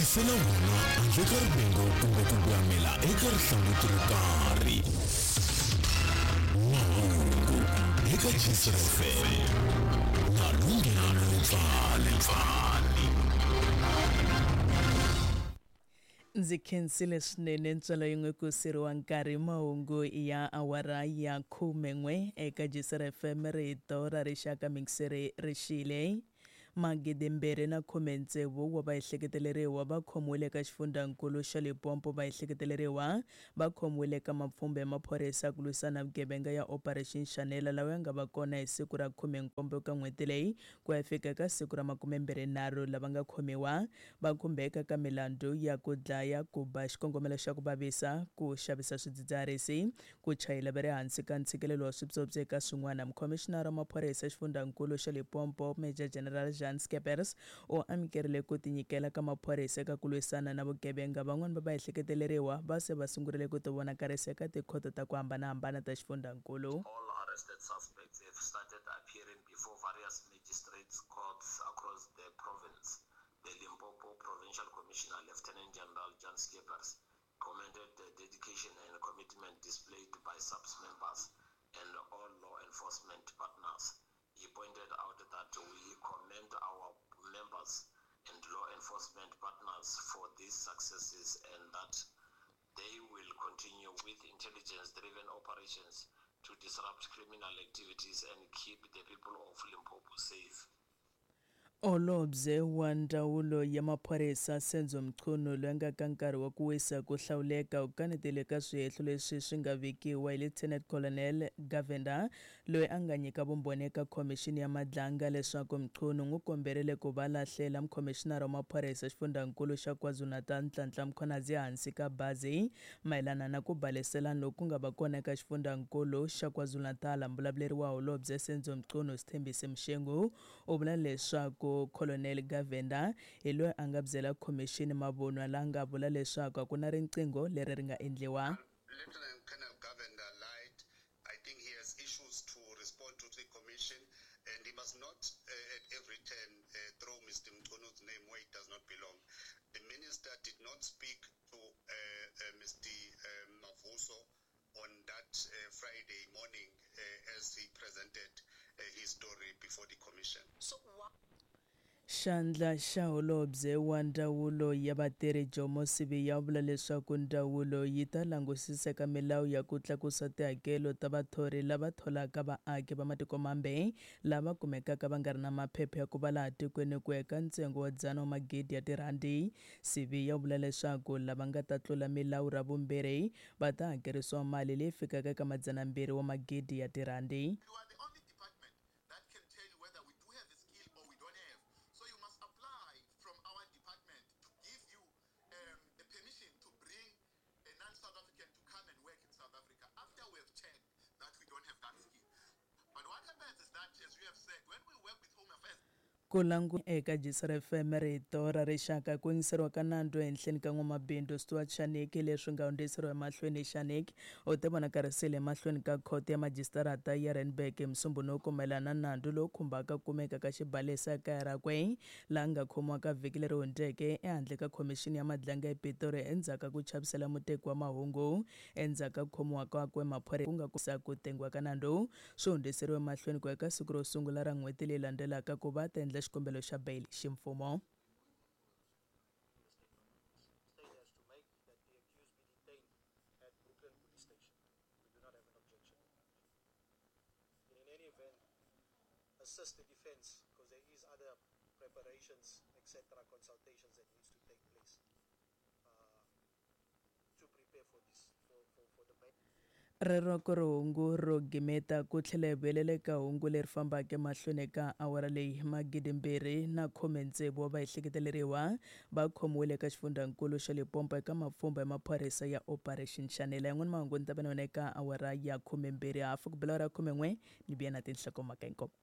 Tiyisela wona handle ka rivengo kumbe ku gwamela eka rihlanguti ro karhi. Mahungu eka Jisr FM na Lunghelo Mpfani. Ndzi khensile swinene ntswalo yin'we ku siriwa nkarhi mahungu ya awara ya 11 eka Jisr FM rito ra rixaka mixere rixile. 2016 wa vaehleketeleriwa va khomiwile eka xifundzankulu xa Limpopo. Vaehleketeleriwa va khomiwile eka mapfhumba ya maphorisa ku lwisana vugevenga ya Operation Shanela lawa ya nga va kona hi siku ra 17 ka n'hweti leyi ku ya fika eka siku ra 23. Lava nga khomiwa va khumbeka ka milandzu ya ku dlaya, ku ba xikongomelo xa ku vavisa, ku xavisa swidzidziharisi, ku chayela va ri hansi ka ntshikelelo wa swipyopyi eka swin'wana. Mukhomishinara wa maphorisa xifundzankulu xa Limpopo, Major General Jan Scheepers, u amukerile ku tinyikela ka maphorisa eka ku lwisana na vugevenga. Van'wana va vaehleketeleriwa va se va sungurile ku tivonakarisa eka tikhoto ta ku hambanahambana ta xifundzankulu. All arrested suspects have started appearing before various magistrates courts across the province. The Limpopo Provincial Commissioner, Lieutenant General Jan Scheepers, commended the dedication and commitment displayed by SAPS members and all law enforcement partners. He pointed out that we commend our members and law enforcement partners for these successes and that they will continue with intelligence-driven operations to disrupt criminal activities and keep the people of Limpopo safe. Holobye wa ndzawulo ya maphorisa Senzo Mchunu loyi a nga ka nkarhi wa ku wisa ku hlawuleka u kanetile ka swihehlo leswi swi nga vekiwa hi Lieutenant Colonel Govender loyi a nga nyika vumbhoni eka khomixini ya Madlanga leswaku Mchunu n'wi komberile ku va lahlela mukhomishinara wa maphorisa xifundzankulu xa KwaZulu-Natal Nhlanhla Mkhwanazi ehansi ka bazi mayelana na ku baleselana loku ku nga va kona eka xifundzankulu xa KwaZulu-Natal. Mbulavuleri wa holobye Senzo Mchunu Sithembise Mshengu u vula leswaku Colonel Govender hi loyi a nga byela khomixini mavunwa la nga vula leswaku a ku na riqingho leri ri nga endliwa. Lieutenant Colonel Govender lied. I think he has issues to respond to the commission, and he must not at every turn throw Mr. Mchunu's name where it does not belong. The minister did not speak to Mr. Mavuso on that Friday morning as he presented his story before the commission. So why? Xandla xa holobye wa ndzawulo ya vatirhi Jomo Sibiya u vula leswaku ndzawulo yi ta langusisa eka milawu ya ku tlakusa tihakelo ta vathori lava tholaka vaaki va matiko mambe lava kumekaka va nga ri na maphepha ya ku va laha tikweni ku ya eka ntsengo wa 100 wa magidi ya tirhandi. Sibiya u vula leswaku lava nga ta tlula milawu ra vumbirhi va ta hakerisiwa mali leyi fikaka eka 200 wa magidi ya tirhandi. You are the only department that can tell you whether we do have a skill or we don't have. So you must apply from our department to give you a permission to bring a non-South African to come and work in South Africa after we have checked that we don't have that skill. But what happens is that, as you have said, when we work with Home Affairs, Ku langu eka Jisr FM rito ra rixaka ku yingiseriwa ka nandzu ehenhleni ka n'wamabindzu Stuart Shanik leswi nga hundziseriwa emahlweni. Shanik u te vonakarisile emahlweni ka khoto ya majisitarata ya Randburg hi Musumbhunuku mayelana na nandzu lowu khumbaka ku kumeka ka xibalesa ekaya rakwe laha nga khomiwa ka vhiki leri hundzeke ehandle ka khomixini ya Madlanga ePitori endzhaku ka ku chavisela muteki wa mahungu. Endzhaku ka ku khomiwa kakwe maphorisa ku nga ku ku tengiwa ka nandzu swi hundziseriwe emahlweni ku ya ka siku ro sungula ra n'hweti leyi landzelaka ku va ta endla xikombelo xa bail ximfumo. State has to make that the accused be detained at Brooklyn Police Station. We do not have an objection. And in any event, assist the defense because there is other preparations, etc., consultations that needs to take place to prepare for this, for the bail. Rero ku ri hungu ro gimeta ku tlhela hi vuyelela eka hungu leri fambaka emahlweni ka awara leyi. 2016 wa vaehleketeleriwa va khomiwile eka xifundzankulu xa Limpopo eka mapfhumba ya maphorisa ya Operation Shanela. Yan'wana mahungu ni ta va na yona eka awara ya 12 hafu ku bela awara ya 11 ni vuya na tinhlokomhaka hinkwato.